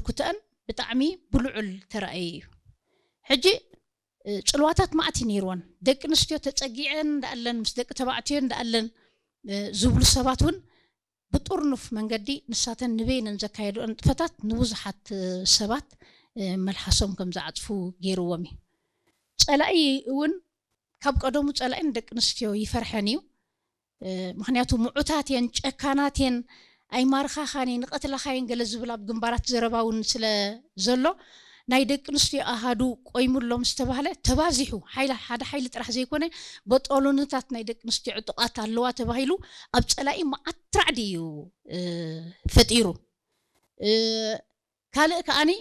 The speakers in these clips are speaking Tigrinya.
ኩተአን ብጣዕሚ ብልዑል ተራእየ እዩ። ሕጂ ጽልዋታት ማዕት እዩ ነይርወን። ደቂ ኣንስትዮ ተጸጊዐን እንዳኣለን ምስ ደቂ ተባዕትዮ እንዳኣለን ዝብሉ ሰባት እውን ብጥርኑፍ መንገዲ ንሳተን ንበይነን ዘካየድኦ ንጥፈታት ንብዙሓት ሰባት መልሓሶም ከም ዝዓፅፉ ገይርዎም እዩ። ፀላኢ እውን ካብ ቀደሙ ፀላኢ ንደቂ ኣንስትዮ ይፈርሐን እዩ። ምክንያቱ ምዑታት የን፣ ጨካናት የን፣ ኣይማርኻኻን እየ፣ ንቐትላኻየን ገለ ዝብል ኣብ ግንባራት ዘረባ እውን ስለ ዘሎ ናይ ደቂ ኣንስትዮ ኣሃዱ ቆይሙሎም ዝተባህለ ተባዚሑ ሓደ ሓይሊ ጥራሕ ዘይኮነ በጦሎንታት ናይ ደቂ ኣንስትዮ ዕጡቓት ኣለዋ ተባሂሉ ኣብ ፀላኢ መዓት ራዕዲ እዩ ፈጢሩ። ካልእ ከዓኒ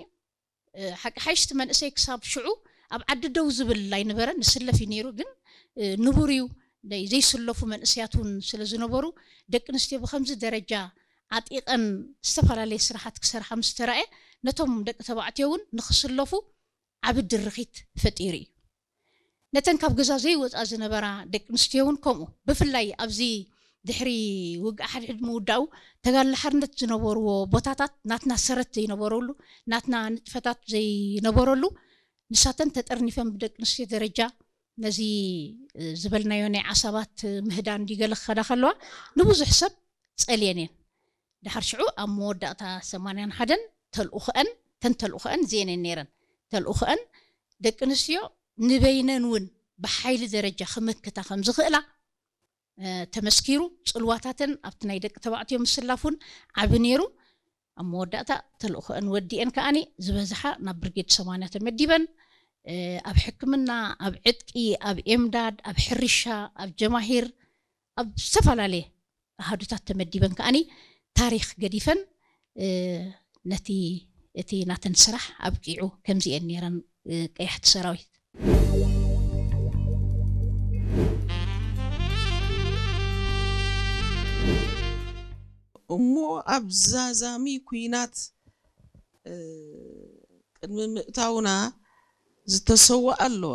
ሓቂ ሓይሽቲ መንእሰይ ክሳብ ሽዑ ኣብ ዓዲ ደው ዝብል ኣይነበረን። ንስለፍ እዩ ነይሩ፣ ግን ንቡር እዩ። ዘይስለፉ መንእሰያት እውን ስለ ዝነበሩ ደቂ ኣንስትዮ ብከምዚ ደረጃ ዓጢቐን ዝተፈላለየ ስራሓት ክሰርሓ ምስ ተራእየ ነቶም ደቂ ተባዕትዮ እውን ንክስለፉ ዓቢ ድርኺት ፈጢሩ እዩ። ነተን ካብ ገዛ ዘይወፃ ዝነበራ ደቂ ኣንስትዮ እውን ከምኡ። ብፍላይ ኣብዚ ድሕሪ ውግእ ሓድሕድ ምውዳኡ ተጋድሎ ሓርነት ዝነበርዎ ቦታታት ናትና ሰረት ዘይነበረሉ፣ ናትና ንጥፈታት ዘይነበረሉ፣ ንሳተን ተጠርኒፈን ብደቂ ኣንስትዮ ደረጃ ነዚ ዝበልናዮ ናይ ዓሳባት ምህዳን ድዩ ገለ ክኸዳ ከለዋ ንብዙሕ ሰብ ጸልየን እየን። ድሓር ሽዑ ኣብ መወዳእታ ሰማንያን ሓደን ተልእኾአን፣ ተን ተልእኾአን እዚአን እየን ነይረን። ተልእኾአን ደቂ ኣንስትዮ ንበይነን እውን ብሓይሊ ደረጃ ክምክታ ከም ዝኽእላ ተመስኪሩ። ጽልዋታተን ኣብቲ ናይ ደቂ ተባዕትዮ ምስላፍ እውን ዓቢ ነይሩ። ኣብ መወዳእታ ተልእኾአን ወዲአን ከዓኒ ዝበዝሓ ናብ ብርጌድ ሰማንያ ተመዲበን ኣብ ሕክምና፣ ኣብ ዕጥቂ፣ ኣብ ኤምዳድ፣ ኣብ ሕርሻ፣ ኣብ ጀማሂር፣ ኣብ ዝተፈላለየ ኣሃዱታት ተመዲበን ከዓኒ ታሪኽ ገዲፈን ነቲ እቲ ናተን ስራሕ ኣብቂዑ። ከምዚአን ነይረን ቀያሕቲ ሰራዊት። እሞ ኣብ ዛዛሚ ኲናት ቅድሚ ምእታውና ዝተሰውኣ ኣለዋ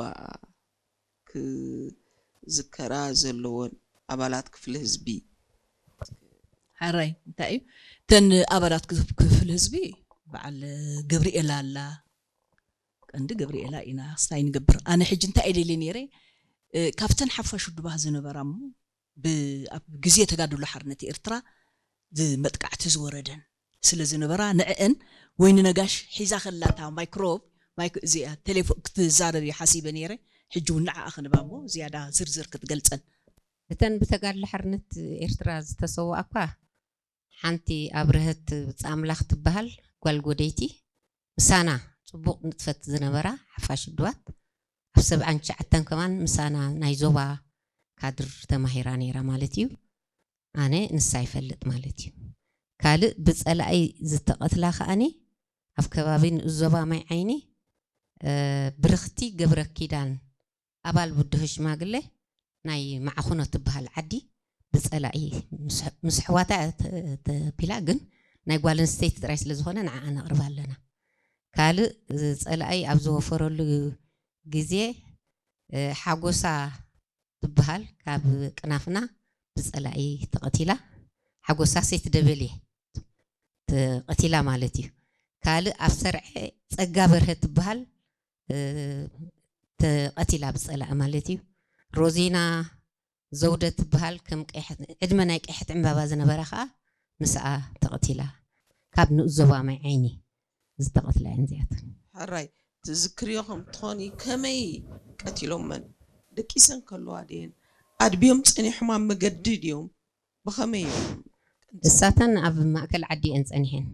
ክዝከራ ዘለወን ኣባላት ክፍሊ ህዝቢ። ሓራይ እንታይ እዩ እተን ኣባላት ክፍሊ ህዝቢ? በዓል ገብርኤላ ኣላ፣ ቀንዲ ገብርኤላ ኢና ስታይ ንገብር። ኣነ ሕጂ እንታይ እየ ደልየ ነይረ፣ ካብተን ሓፋሽ ውድባት ዝነበራ እሞ ኣብ ግዜ ተጋድሎ ሓርነት ኤርትራ መጥቃዕቲ ዝወረደን ስለ ዝነበራ ንዕአን፣ ወይኒ ነጋሽ ሒዛ ከላታ ማይክሮብ እዚኣ ቴሌፎን ክትዛረብ እየ ሓሲበ ነይረ። ሕጂ እውን ንዓኣ ክንባ እሞ ዝያዳ ዝርዝር ክትገልጸን። እተን ብተጋድሎ ሓርነት ኤርትራ ዝተሰውኣ እኳ ሓንቲ ኣብርሀት ብጻምላኽ ትበሃል ጓል ጎደይቲ ምሳና ጽቡቕ ንጥፈት ዝነበራ ሓፋሽ ውድባት ኣብ ሰብዓን ትሽዓተን ከማን ምሳና ናይ ዞባ ካድር ተማሂራ ነይራ ማለት እዩ። ኣነ ንሳ ይፈልጥ ማለት እዩ። ካልእ ብጸላኢ ዝተቐትላ ከኣኒ ኣብ ከባቢ ንኡስ ዞባ ማይ ዓይኒ ብርኽቲ ገብረኪዳን ኣባል ብድሆ ሽማግለ ናይ ማዕኹኖ ትበሃል ዓዲ ብፀላኢ ምስ ኣሕዋታ ተቢላ ግን ናይ ጓል ኣንስተይቲ ጥራይ ስለ ዝኾነ ንዓኣ ነቕርባ ኣለና። ካልእ ፀላኢ ኣብ ዝወፈረሉ ግዜ ሓጎሳ ትበሃል ካብ ቅናፍና ብፀላኢ ተቐቲላ። ሓጎሳ ሰይቲ ደበሌ ተቐቲላ ማለት እዩ። ካልእ ኣብ ሰርዐ ፀጋ በርሀ ትበሃል ተቐቲላ ብፀላኢ ማለት እዩ። ሮዚና ዘውደ ትበሃል ከም ዕድመ ናይ ቀይሕቲ ዕምባባ ዝነበራ ከዓ ምስኣ ተቐቲላ። ካብ ንኡስ ዞባ ማይ ዓይኒ ዝተቐትላ እየን እዚኣተን። ሕራይ ትዝክርዮ ከም ትኾኒ ከመይ ቀቲሎመን? ደቂሰን ከለዋ ድየን ኣድብዮም ፀኒሖም ኣብ መገዲ ድዮም? ብኸመይ እዮም? እሳተን ኣብ ማእከል ዓዲ እየን ፀኒሐን።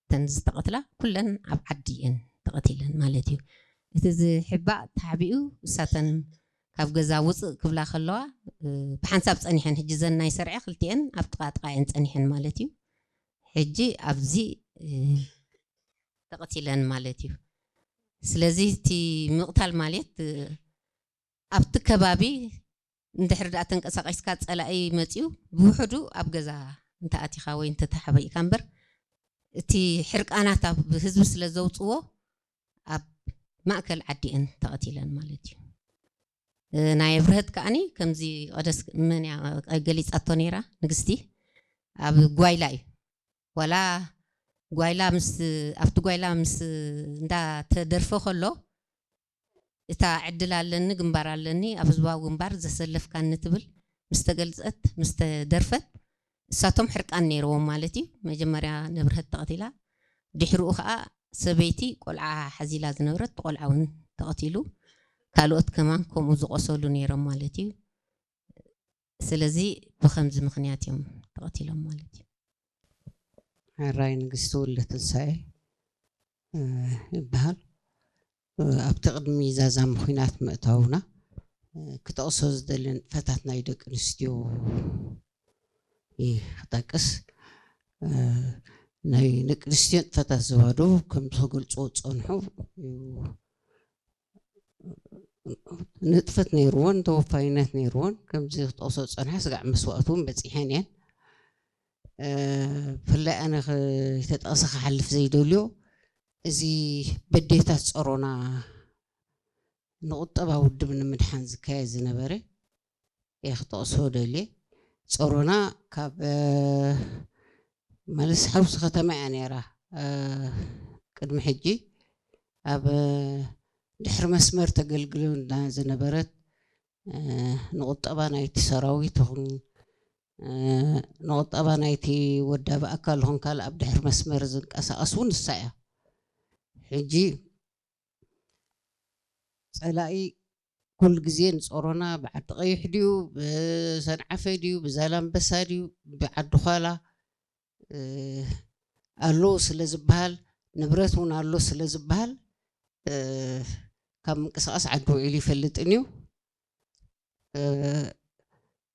እተን ዝተቐትላ ኩለን ኣብ ዓዲ እየን ተቐቲለን ማለት እዩ። እቲ ዝሕባእ ተሓቢኡ እሳተን ካብ ገዛ ውፅእ ክብላ ከለዋ ብሓንሳብ ፀኒሐን። ሕጂ ዘን ናይ ሰርዐ ክልቲኤን ኣብ ጥቓ ጥቓ እየን ፀኒሐን ማለት እዩ። ሕጂ ኣብዚ ተቐቲለን ማለት እዩ። ስለዚ እቲ ምቕታል ማለት ኣብቲ ከባቢ እንድሕር ደኣ ተንቀሳቒስካ ጸላኢ መጺኡ ብውሕዱ ኣብ ገዛ እንተኣቲኻ ወይ እንተተሓቢእካ እምበር እቲ ሕርቃናት ኣብ ህዝቢ ስለ ዘውጽዎ ኣብ ማእከል ዓዲ እየን ተቐቲለን ማለት እዩ። ናይ ኣብርሀት ከኣኒ ከምዚ ቀደስ መን እያ ገሊጻቶ ነይራ ንግስቲ ኣብ ጓይላ እዩ ዋላ ጓይላ ምስ ኣብቲ ጓይላ ምስ እንዳተደርፈ ከሎ እታ ዕድል ኣለኒ ግንባር ኣለኒ ኣብ ህዝባዊ ግንባር ዘሰለፍካኒ ትብል ምስ ተገልጸት ምስ ተደርፈት እሳቶም ሕርቃን ነይርዎም ማለት እዩ። መጀመርያ ንብርሀት ተቐቲላ፣ ድሕሪኡ ከዓ ሰበይቲ ቆልዓ ሓዚላ ዝነበረት ቆልዓ እውን ተቐቲሉ፣ ካልኦት ከማን ከምኡ ዝቆሰሉ ነይሮም ማለት እዩ። ስለዚ ብኸምዚ ምኽንያት እዮም ተቐቲሎም ማለት እዩ። ሕራይ ንግስቲ ወልደ ትንሳኤ ይበሃል። ኣብቲ ቅድሚ ዛዛሚ ኹናት ምእታውና ክጠቕሶ ዝደሊ ንጥፈታት ናይ ደቂ ኣንስትዮ ክጠቅስ። ናይ ደቂ ኣንስትዮ ንጥፈታት ዘዋዶ ከም ዝገልፅዎ ዝፀንሑ ንጥፈት ነይርዎን ተወፋይነት ነይርዎን ከምዚ ክጠቕሶ ዝፀንሓ ስጋዕ መስዋእቲ እውን በፂሐን እየን። ብፍላይ ኣነ ተጠቕሰ ክሓልፍ ዘይደልዮ እዚ በዴታት ፀሮና ንቁጠባ ውድብ ንምድሓን ዝካየድ ዝነበረ እየ ክጠቕሶ ደልየ። ፀሮና ካብ ማለት ሓውሲ ከተማ እያ ነይራ። ቅድሚ ሕጂ ኣብ ድሕሪ መስመር ተገልግልና ዝነበረት ንቁጠባ ናይቲ ሰራዊት ይኹን ንቁጠባ ናይቲ ወዳቢ ኣካል ይኹን ካልእ ኣብ ድሕሪ መስመር ዝንቀሳቐስ እውን ንሳ እያ። ሕጂ ፀላኢ ኩሉ ግዜ ንፀሮና ብዓዲ ቀይሕ ድዩ ብሰንዓፈ ድዩ ብዛላምበሳ ድዩ ብዓዲ ኳላ ኣሎ ስለ ዝበሃል ንብረት እውን ኣሎ ስለ ዝበሃል ካብ ምንቅስቃስ ዓዲ ውዒሉ ይፈልጥን እዩ።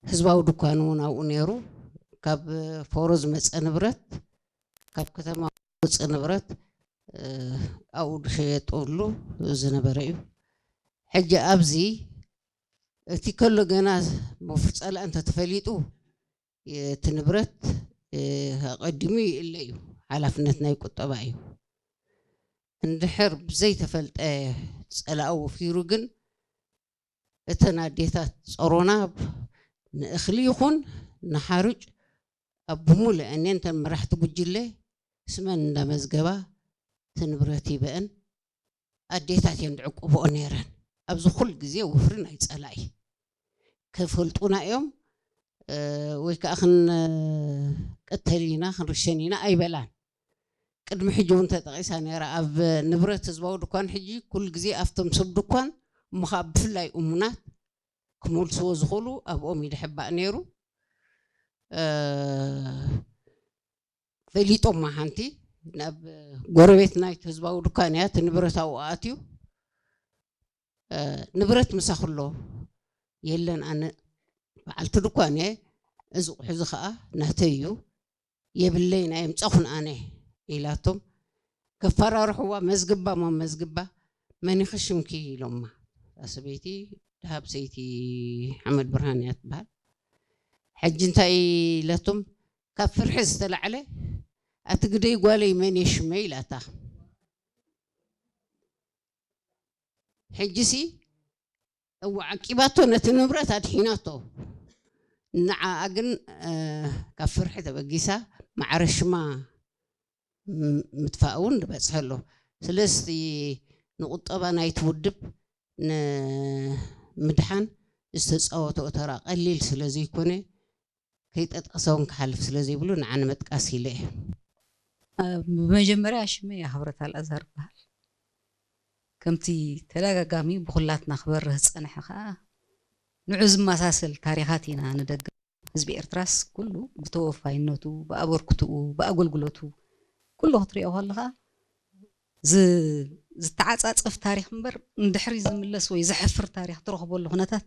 ህዝባዊ ድኳን እውን ኣብኡ ነይሩ። ካብ ፎሮ ዝመፀ ንብረት ካብ ከተማ ዝወፅእ ንብረት ኣብኡ ዝሸየጠሉ ዝነበረ እዩ። ሕጂ ኣብዚ እቲ ከሎ ገና መፉር ፀላእ እንተተፈሊጡ እቲ ንብረት ኣቐዲሙ ይእለ እዩ። ሓላፍነት ናይ ቁጠባ እዩ። እንድሕር ብዘይተፈልጠ ፀላእ ወፊሩ ግን እተን ኣዴታት ፀሮና ንእኽሊ ይኹን ንሓሩጭ ኣብ ብሙሉእ እኔ እንተን መራሕቲ ጉጅለ ስመን እንዳመዝገባ እቲ ንብረት ይበአን ኣዴታት እየን ዝዕቁብኦ ነይረን። ኣብዚ ኩል ግዜ ወፍሪ ናይ ፀላኢ ክፈልጡና እዮም ወይ ከዓ ክንቀተል ኢና ክንርሸን ኢና ኣይበላን። ቅድሚ ሕጂ እውን ተጠቂሳ ነይራ ኣብ ንብረት ህዝባዊ ድኳን ሕጂ ኩሉ ግዜ ኣብቶም ሰብ ድኳን እሞ ከዓ ብፍላይ እሙናት ክመልስዎ ዝኽእሉ ኣብኦም ይድሕባእ ነይሩ። ፈሊጦማ ሓንቲ ናብ ጎረቤት ናይቲ ህዝባዊ ድኳን እያ እቲ ንብረት ኣብኡ ኣትዩ ንብረት ምሳኹ ኣሎ የለን ኣነ በዓልቲ ድኳን እየ እዚ ቁሑ እዚ ከዓ ናተይ እዩ የብለይን ኣየምፀኹን ኣነ ኢላቶም ከፈራርሕዋ መዝግባ ሞ መዝግባ መኒኺ ሽምኪ ኢሎማ እታ ሰበይቲ ደሃብ ሰይቲ ሓመድ ብርሃን እያ ትበሃል ሕጂ እንታይ ኢለቶም ካብ ፍርሒ ዝተላዕለ ኣቲ ግደይ ጓለይ መን እየ ሽመይ ኢላታ ሕጂሲ እወ ዓቂባቶ ነቲ ንብረት ኣድሒናቶ ንዓኣ ግን ካብ ፍርሒ ተበጊሳ ማዕረ ሽማ ምጥፋእ እውን ዝበፅሐ ኣሎ ስለዚ ንቁጠባ ናይቲ ውድብ ንምድሓን ዝተፃወተኦ ተራ ቀሊል ስለ ዘይኮነ ከይጠጠሰ እውን ክሓልፍ ስለ ዘይብሉ ንዓ ንምጥቃስ ኢለ እየ ብመጀመርያ ሽመይ ኣኽብረት ኣልኣዛር ይበሃል ከምቲ ተደጋጋሚ ብኩላትና ክበርህ ዝፀንሐ ከዓ ንዑ ዝመሳሰል ታሪኻት ኢና ንደግም ህዝቢ ኤርትራስ ኩሉ ብተወፋይነቱ ብኣበርክትኡ ብኣገልግሎቱ ኩሉ ክትሪኦ ከለኻ ዝተዓፃፀፍ ታሪክ እምበር ንድሕሪት ዝምለስ ወይ ዘሕፍር ታሪክ ትረኽበሉ ኩነታት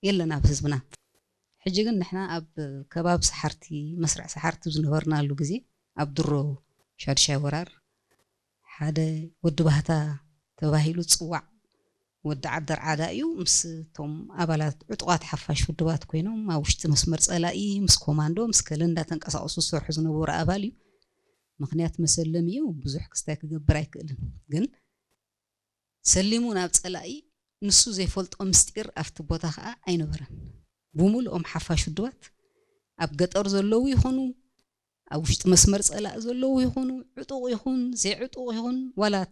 የለን ኣብ ህዝብና። ሕጂ ግን ንሕና ኣብ ከባቢ ሰሓርቲ መስርዕ ሰሓርቲ ዝነበርናሉ ግዜ ኣብ ድሮ ሻድሻይ ወራር ሓደ ወዲ ባህታ ተባሂሉ ዝፅዋዕ ወዲ ዓዲ ኣርዓዳ እዩ። ምስ እቶም ኣባላት ዕጡቓት ሓፋሽ ውድባት ኮይኖም ኣብ ውሽጢ መስመር ፀላኢ ምስ ኮማንዶ ምስ ገለ እንዳተንቀሳቐሱ ዝሰርሑ ዝነበሩ ኣባል እዩ። ምኽንያት መሰለሚ እዩ። ብዙሕ ክስታይ ክገብር ኣይክእልን። ግን ሰሊሙ ናብ ፀላኢ ንሱ ዘይፈልጦ ምስጢር ኣብቲ ቦታ ከዓ ኣይነበረን። ብሙሉኦም ሓፋሽ ውድባት ኣብ ገጠር ዘለዉ ይኾኑ ኣብ ውሽጢ መስመር ጸላእ ዘለዉ ይኹኑ፣ ዕጡቕ ይኹን ዘይዕጡቕ ይኹን፣ ዋላ